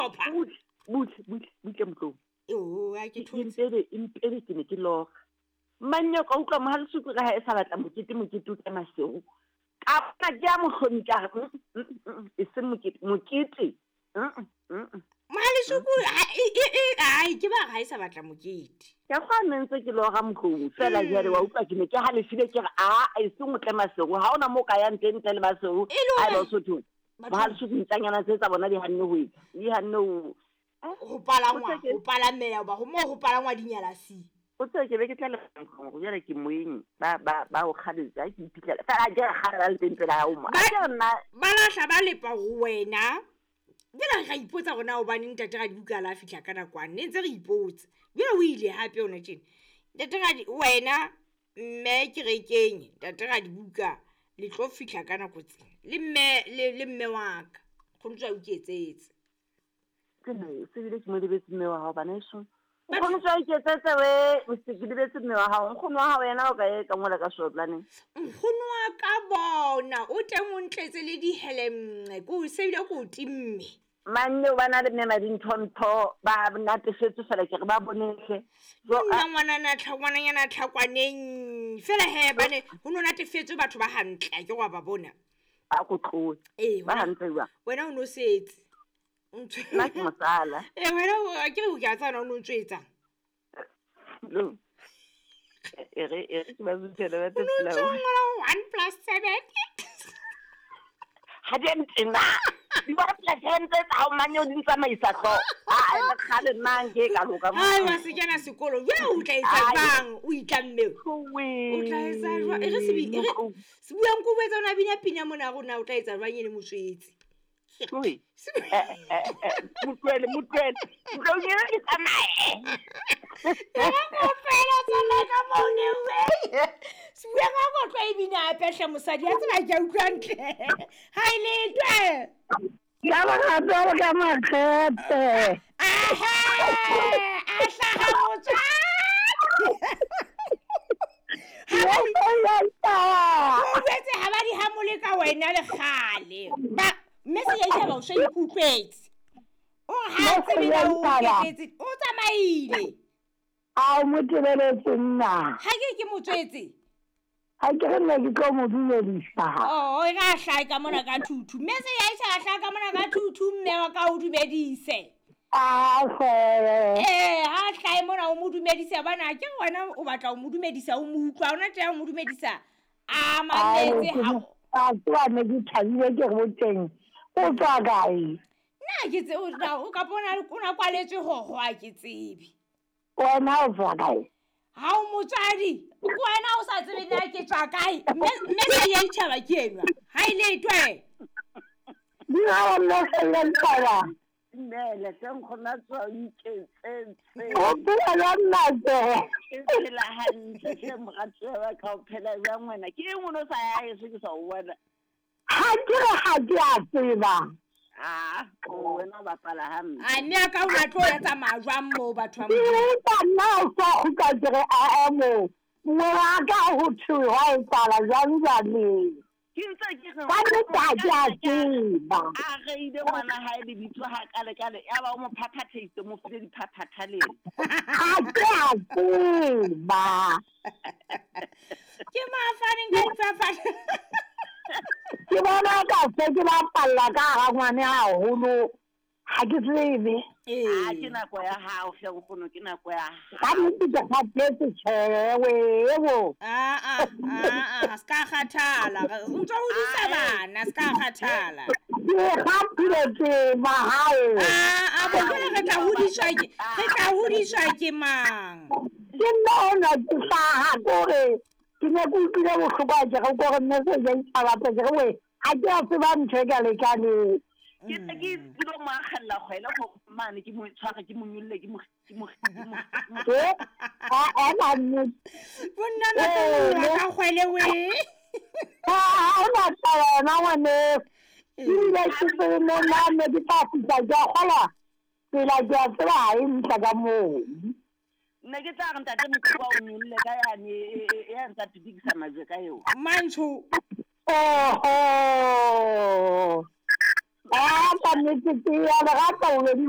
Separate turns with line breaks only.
hlopha.
Butle, butle, butle, butle motlong.
Oo, a ke thotse.
Empebe, empebe ke ne ke lora. Manne ka utlwa mohalesuku re ha e sa batla mokete, mokete o tle Maseru. Ka bona ke ya mohlomi ka re, e seng mokete, mokete.
Mohalesuku, ai, ke ba re ha e sa batla mokete.
Ka kgwa ne ntse ke lora motlong fela jwale wa utlwa ke ne ke halefile ke re, a, e seng o tle Maseru, ha hona moo ka yang teng ntle le Maseru.
E le
Ha eba
hore
o so thong.
Batho-
Mohalesuku ntlanyana tse tsa bona di hanne ho etsa. Di hanne ho
Ho palangwa,
O tseke-
ho palameya hoba ho moo ho palangwa dinyalasi.
O tsebe ke be ke tla le hore jwale ke moeng ba ba ba o kgaletse ha ke iphitlhela. Fela ha ke re kgale ba le teng pela hao mo.
Ba-
Ha ke re nna
Ba lahla ba lepa ho wena. Jwale ra ipotsa hore na hobaneng ntate Radibuka a la fihla ka nako ane, ne ntse re ipotsa. Jwale o ile hape hona tjena. Ntate Radi, wena mme kerekeng, ntate Radibuka le tlo fihla ka nako tse. Le mme, le mme wa ka. Nkgono tswa o iketsetse.
Ke ne se bile ke mo lebetse mme wa hao bana heso.
Ba-
Nkgono tswa iketsetse we, o se ke lebetse mme wa hao. Nkgono wa hao yena o ka e ka ngola ka shoplaneng.
Nkgono wa ka bona o teng o ntletse le dihelemnqe, ke o se bile ke o timme.
Manne o bana le mme Madinthontho ba natefetswe fela ke re ba bonehle. Jo,
Nna
a-
ngwanana ngwananyana tlhakwaneng. Fela he bane ho no natefetswe batho ba hantle, a ke wa ba bona.
a ko tlohe.
Ee,
Ba
wena
hantle jwang?
wena o no setse. O ntse-
Nna ke mosala.
Ee, wena o ke re o ke a tseba na o no ntso etsang.
Lo. E re e re ke ba zuthele ba
O no
tsela.
ntso ngola 1 plus 7.
Ha di a ntena. Di bona plus seven tse tsa hao mane o di ntsamaisa hlooho. Ah, e kgale nna nke ka loka mo.
Ai, wa se kena sekolo. Jwale o tla etsa
Ai.
jwang? O itlamme. O tla etsa jwang? E re sebi- e re Sebuang ko etsa ona bina pina mona rona o tla etsa jwang e le motswetse?
Tlohe.
Sebu-
Motlohele, motlohele. Motlohele ke tsamaye.
E re ko tlohela tsamaya ka moo ne we. Sebuang ha ko tloha e bina hape hle mosadi, a tseba ke a utlwa ntle. Ha e letwe.
Ka bagato ka makgepe.
Ahe, a hlaha motswadi. Ha ba di- O jwetse ha ba di hamole ka wena le kgale. Ba mme se ya itjhaba o so ikutlwetse. O re ha a tsebe na o keketse, o tsamaile.
A o mo tebeletse nna.
Ha ke ke motswetse.
Ha ke re nna ke tlo mo dumedisa.
Oh, e re a hlahe ka mona ka thuthu. Mme se ya itjhaba hlaha ka mona ka thuthu mme wa ka o dumedise.
A fele.
Ee, ha hlahe mona o mo dumedise hobane ha ke re wena o batla ho mo dumedisa o mo utlwa, ha ona taba ya ho mo dumedisa. A mametse ha
A tseba ne ke thabile ke re boteng. O tswa kae?
Nna ke tse o na o kapa o na o na kwaletswe hoho ha ke tsebe.
Wena o tswa kae?
Ha o motswadi, ke wena o sa tsebe na ke tswa kae. Mme mme se ya itjhaba ke enwa. Ha e letwe.
Dira nna fela taba.
Dumela hle nkgono a tswa o iketsetse.
O phela jwang ntate?
Ke phela hantle hle moratuwa wa ka o phela jwang wena? Ke eng o no sa ya heso ke sa o bona?
Ha ke re ha ke a tseba.
Ah, o wena o bapala hampe.
A mme a ka o na tlo ya tsamaya jwang moo batho ba
Ke
Modimo?
utlwa nna o sa kgutla ke re aa mo. Ngwana ka ho thwe hwa etsahala jwang jwale.
Ke ntse ke re
Ka nnete ha ke a tseba.
a reile ngwana hae lebitso ha kale kale ya ba o mo phaphatheitse mo file diphaphatha le ena.
Ha ke a tseba.
Ke mafaneng ka diphaphatha.
Ke bona ka se ke bapalla ka hara ngwane haholo. Ha ke tsebe.
Ah, ke
Ee.
nako ya hao hle nkgono, ke nako ya
Ka
hao.
nnete ke kgathetse tjhe webo.
Ah ah ah ah, ska kgathala. O ntso hodisa bana, ska kgathala.
Ke kgathile tseba hao.
Ah ah, bo jwale re tla hodiswa ke re tla hodiswa ke mang?
Ke nna ona ke hlaha kore ke ne ke utlwile bohloko ha ke re kore mme se ja ditaba tse ke re we ha ke a tseba ntho e ka lekaneng.
Ke ntse ke dilo mo akgella kgwele go mane ke mo tshware ke mo nyolle ke mo ke mo ke mo ke mo
E a a nnete.
Bonna na tlo nyollwa ka kgwele we.
Ha ona taba yona ngwaneso. Ebile ke tsebe mo nna ne ke tla fihla ke a kgolwa tsela ke a tseba ha e ntla ka moo.
Nne ke tla re ntate Mokoko a o nyolle ka yane e ya ntsa pitikisa majwe ka eo.
Mantsho.
Oho. A ka nnete ke ya le rata bobedi ba.